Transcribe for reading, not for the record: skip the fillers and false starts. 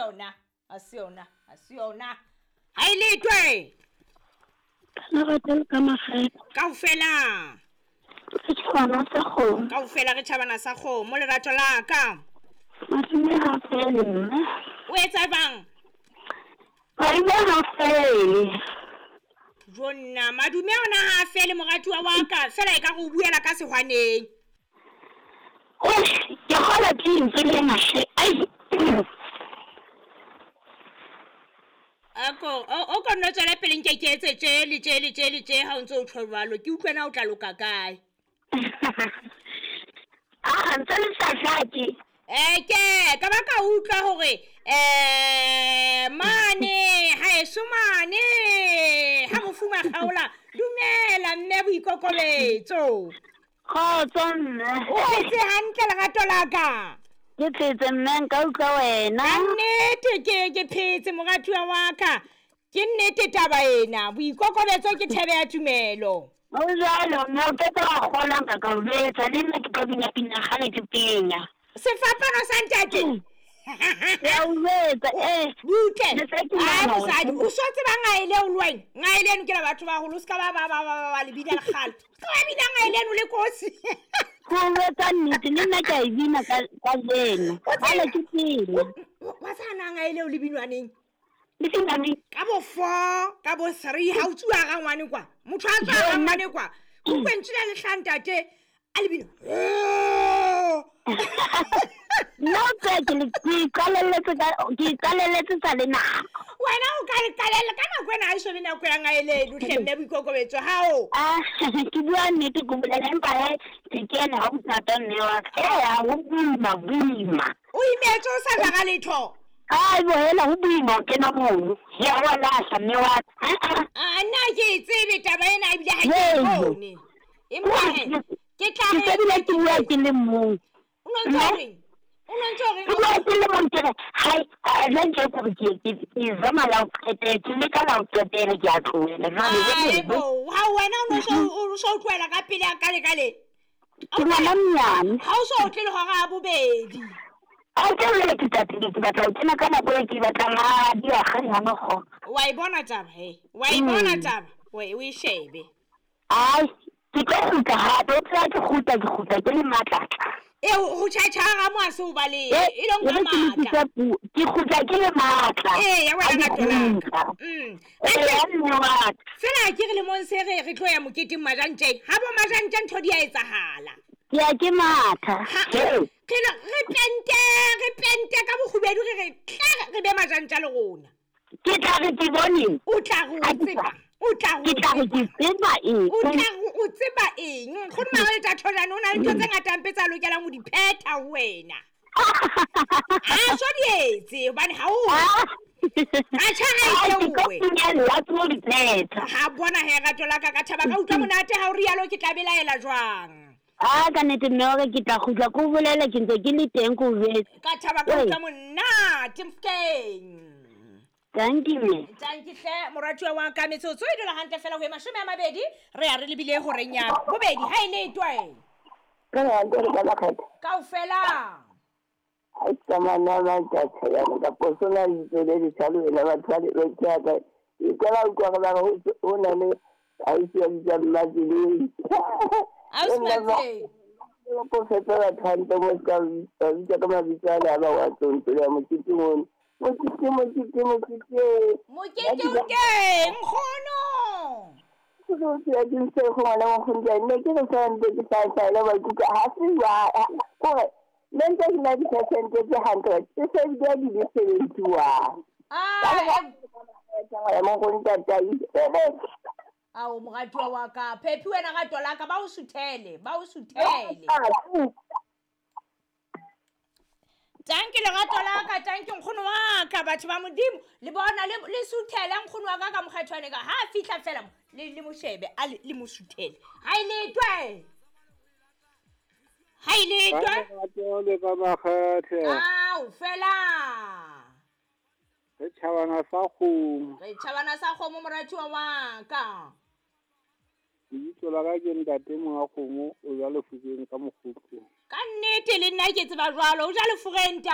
yona a se yona a se yona ha e letwe Lerato le ka makgethe. Kaofela. Re tjhabana sa kgomo. Kaofela re tjhabana sa kgomo lerato la ka. Madume ha fele mme. O etsa jwang? Madume ha fele. Jonna madume ona ha fele moratuwa wa ka fela e ka re o buela ka sehwaneng. Ke kgola ke lentswe lena hle. Ai. Ako o ko nno tswele pele nke ke etse tje le tje le tje le tje ha o ntse o tjho jwalo ke utlwe na o tla loka kae. A ntse le sa hlake. Ke ka ba ka utlwa hore mane ha eso mane ha mofuma kgaola dumela mme boikokobetso. Kgotso mme. O phetse hantle lerato la ka. Ke phetse mme nka utlwa wena. Ka nnete ke phetse moratuwa wa ka. Ke nnete taba ena boikokobetso ke thebe ya tumelo. O jwalo mme o ke tla kgola nka ka o betsa le nna ke tlo bina pina kgale ke penya. Sefapano sa ntate. Ya o betsa butle. Ai mosadi o so tseba ngaele o le wena. Ngaele eno ke la batho ba holo se ka ba ba ba ba le bina lekgale. Se ka ba bina ngaele eno le kosi. Go etsa nnete le nna ke a e bina ka jeno. Kgale ke pina. Wa tsana ngaele o le binwaneng. Le binwaneng. Ka bo 4, ka bo 3 ha o tsuwa ga ngwane kwa. Motho a tswa ga ngwane kwa. O kwentsile le hlantate a le bina. No ke iqalelletse sa le nako. Wena o ka iqalella ka nako ena ha e so be nako ya ngaele hle mme boikokobetso hao. Ke bua nnete ke bolela empa he ke kene ha o thata mme wa ka. Ha ho boima boima. O imetse o sa jara letho. Ai bo hela ho boima o kena mono. Ya wa lahla mme wa ka. A nna ke tsebe taba ena ebile ha ke bone. Empa he ke tla re ke ke bua ke le mong. O no ntse reng? O no ntse reng? Ke bua ke le mong ke re hai la ntse ke re ke zama la o qetela ke leka la o qetela ke a tlohela jwale. Bo ha wena o no so tlohela ka pele ka le ka le. Ke ngwana mnyane. Ha o so tle le hora ya bobedi. A ke le ke tatile ke batla ho kena ka nako e ke batlang ha di a kganya no go. Wa e bona taba he. Wa e bona taba. O e shebe. Ai ke tlo kgutla hape o tla ke kgutla ke le matla. Ho tjhatjha mo a se o bale e long ka matla. Ke kgutla ke le matla. Ya wena ka tolaka. Fela ke re le mong se re tlo ya moketeng majantjeng. Ha bo majantjeng ntho di a etsahala. Ke ya ke matha. Re pente ka bokgubedu re tle re be majantja le rona. Ke tla re ke boneng. O tla re o tseba. O tla re ke tseba eng. O tla re o tseba eng. Nkgono Mare Thathojane o na le ntho tse ngata mpe tsa lokelang ho di phetha ho wena. A so di etse hobane ha o. Atjha ha e tlowe. Ha bona he rato la ka ka thaba ka utlwa monate ha o rialo ke tla belaela jwang. A ka nnete mme hore ke tla kgutla ko bolela ke ntse ke le teng ko jwetse. Ka thaba ka utlwa monate mfkeng. Thank you mme. Thank you hle moratuwa wa ka metsotso e dula hantle fela ho e 20 re ya re lebile horeng ya bobedi ha e letwe. Ka hantle re ka makgetha. Kaofela. Ha tsamana ba tjha ya ka posona le le tshalo ena batho ba le tjha ka. E ka ba utlwa ba re ho na le ausi ya bitsa Mmatseleng. Ausi Mmatseleng. Ko fetsa batho hantle mo ka bitsa ka mabitso a le ba wa tsontso ya mokete mono. Mokete. Mokete o teng nkgono. Ke ya ke ntse go ngwana nkgono ke nne ke re sa ntse ke sa sa le ba ikutlwa ha se wa kore nne ntse ke na di-percent tse 100 ke se di di le 71. Ao moratuwa wa ka Phephi wena rato la ka ba o suthele. Tanki lerato la ka tanki nkgono wa ka batho ba Modimo le bona le suthele nkgono wa ka ka mokgethwane ka ha fihla fela le mo shebe a le mo suthele ha e letwe le ka makgethe ao fela re tjhabana sa kgomo moratuwa wa ka Lebitso la ka ke ntate monga kgomo o ja lefokeng ka mokgotlong. Ka nnete le nna ke tseba jwalo o ja lefokeng ntate.